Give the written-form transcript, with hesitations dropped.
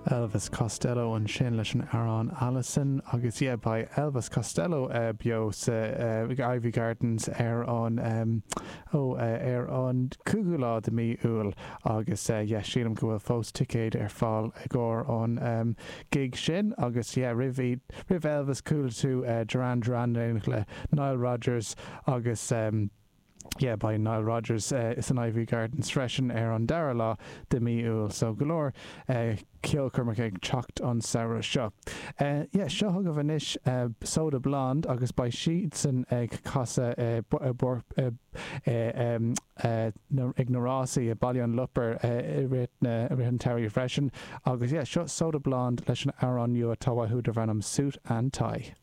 Elvis Costello ansin leis an amhrán Alison agus yeah beidh Elvis Costello beo sa Iveagh Gardens ar an ó ar an 5ú lá de mí Iúil agus yeah sílim go bhfuil fós ticéid ar fáil i gcomhair an gig sin agus yeah roimh roimh Elvis chuala tú Duran Duran le Nile Rodgers agus Yeah, beidh Nile Rodgers san Iveagh Gardens freisin ar an dara lá de mí Iúil, so go leor ceolchoirmeacha ag teacht an samhradh seo. Yeah, seo chugaibh anois Soda Blonde agus beidh siadsan ag casadh ag na rásaí i Baile an Lopair i rith an tsamhraidh freisin. Agus yeah, seo Soda Blonde leis an amhrán nua atá uathu darb ainm Suit and Tie.